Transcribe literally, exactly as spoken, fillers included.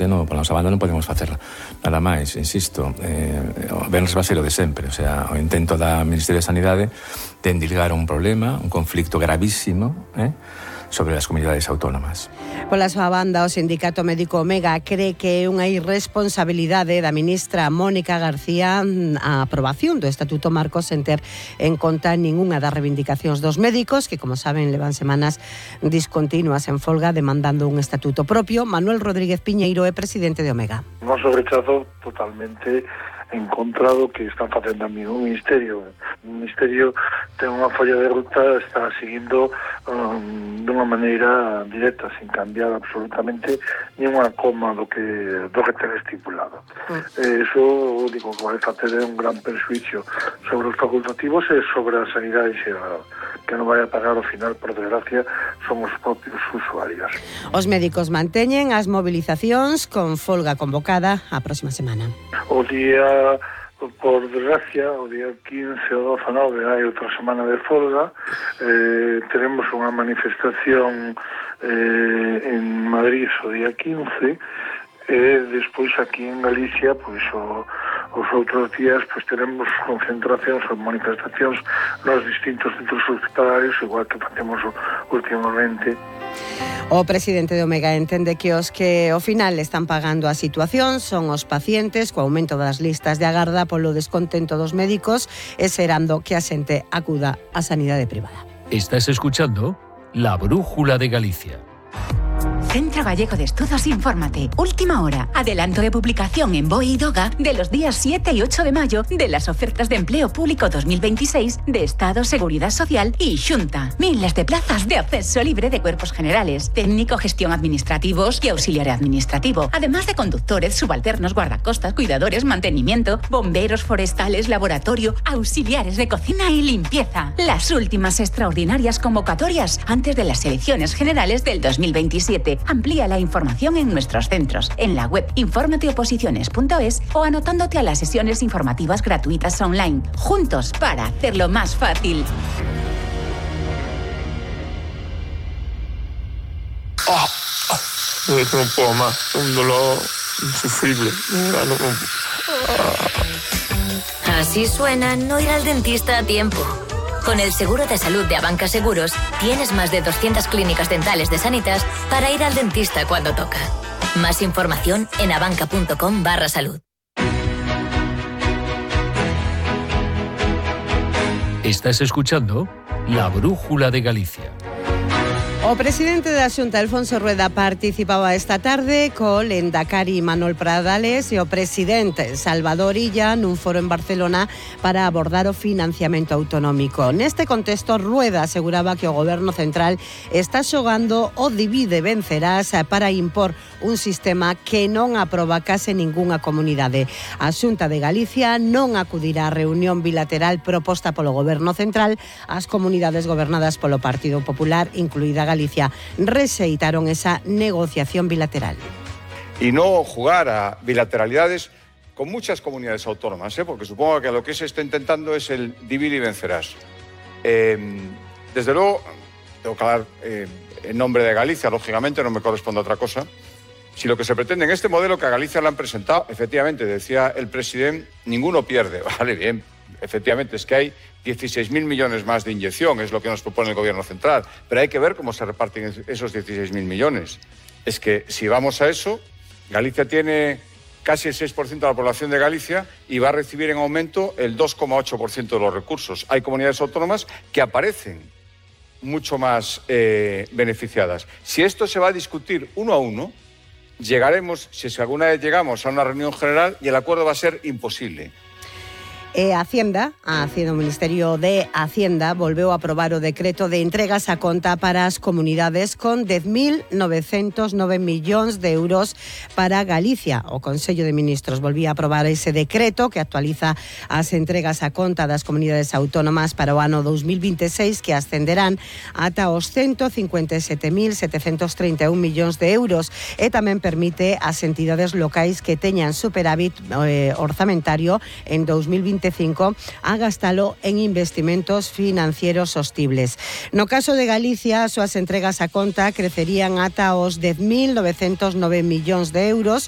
parte, no, pola nosa banda non podemos facer nada máis, insisto. Eh, o Benres va ser o de sempre, o sea, o intento da Ministerio de Sanidade de endilgar un problema, un conflicto gravísimo, eh, sobre as comunidades autónomas. Pola súa banda, o Sindicato Médico Omega cree que é unha irresponsabilidade da ministra Mónica García a aprobación do Estatuto Marco sen ter en conta ningunha das reivindicacións dos médicos, que, como saben, levan semanas discontinuas en folga demandando un estatuto propio. Manuel Rodríguez Piñeiro é presidente de Omega. Nos rechazo totalmente en contra do que están facendo a mí o Ministerio. O Ministerio ten unha folla de ruta, está seguindo um, dunha maneira directa, sin cambiar absolutamente ni unha coma do que do que ten estipulado. Mm. Eh, eso, digo, que vai facer un gran perjuicio sobre os facultativos e sobre a sanidade xeral. Que non vai a pagar ao final, por desgracia, son os propios usuarios. Os médicos manteñen as movilizacións con folga convocada a próxima semana. O día, por desgracia, o día quince ou dezanove hai outra semana de folga. Eh, teremos unha manifestación eh, en Madrid o día quince e despois aquí en Galicia, pois o os outros días pois teremos concentracións ou manifestacións nos distintos centros hospitalarios, igual que facemos últimamente. O presidente de Omega entende que os que ao final están pagando a situación son os pacientes, co aumento das listas de agarda polo descontento dos médicos e serando que a xente acuda á sanidade privada. Estás escuchando La Brújula de Galicia. Centro Gallego de Estudos Infórmate. Última hora. Adelanto de publicación en B O E y DOGA de los días siete y ocho de mayo de las ofertas de empleo público dos mil veintiséis de Estado, Seguridad Social y Xunta. Miles de plazas de acceso libre de cuerpos generales, técnico, gestión administrativos y auxiliar administrativo. Además de conductores, subalternos, guardacostas, cuidadores, mantenimiento, bomberos forestales, laboratorio, auxiliares de cocina y limpieza. Las últimas extraordinarias convocatorias antes de las elecciones generales del dos mil veintisiete. Amplía la información en nuestros centros, en la web infórmateoposiciones punto es o anotándote a las sesiones informativas gratuitas online. Juntos para hacerlo más fácil. Oh, oh, no puedo más, un dolor insufrible. No, no, no. Así suena no ir al dentista a tiempo. Con el seguro de salud de Abanca Seguros, tienes más de doscientas clínicas dentales de Sanitas para ir al dentista cuando toca. Más información en abanca.com barra salud. Estás escuchando La Brújula de Galicia. O presidente da Xunta, Alfonso Rueda, participaba esta tarde co Lendakari Manuel Pradales e o presidente Salvador Illa nun foro en Barcelona para abordar o financiamento autonómico. Neste contexto, Rueda aseguraba que o goberno central está xogando o divide vencerás para impor un sistema que non aproba case ningunha comunidade. A Xunta de Galicia non acudirá á reunión bilateral proposta polo goberno central. As comunidades gobernadas polo Partido Popular, incluída Galicia, rexeitaron esa negociación bilateral. Y no jugar a bilateralidades con muchas comunidades autónomas, ¿eh? Porque supongo que lo que se está intentando es el divide y vencerás. Eh, desde luego, tengo que hablar eh, en nombre de Galicia, lógicamente, no me corresponde otra cosa. Si lo que se pretende en este modelo que a Galicia le han presentado, efectivamente, decía el presidente, ninguno pierde. Vale, bien, efectivamente, es que hay dieciséis mil millones más de inyección, es lo que nos propone el gobierno central, pero hay que ver cómo se reparten esos dieciséis mil millones. Es que si vamos a eso, Galicia tiene casi el seis por ciento de la población de Galicia y va a recibir en aumento el dos coma ocho por ciento de los recursos. Hay comunidades autónomas que aparecen mucho más eh, beneficiadas. Si esto se va a discutir uno a uno, llegaremos, si alguna vez llegamos a una reunión general, y el acuerdo va a ser imposible. E Hacienda, a Hacienda, o Ministerio de Hacienda volveu a aprobar o decreto de entregas a conta para as comunidades con dez mil novecentos nove millóns de euros para Galicia. O Consello de Ministros volvía a aprobar ese decreto que actualiza as entregas a conta das comunidades autónomas para o ano dos mil veintiséis, que ascenderán ata os ciento cincuenta e sete mil setecentos trinta e un millóns de euros, e tamén permite ás entidades locais que teñan superávit eh, orzamentario en dos mil veinticinco a gastalo en investimentos financieros sostibles. No caso de Galicia, as súas entregas a conta crecerían ata os dez mil novecentos nove millóns de euros,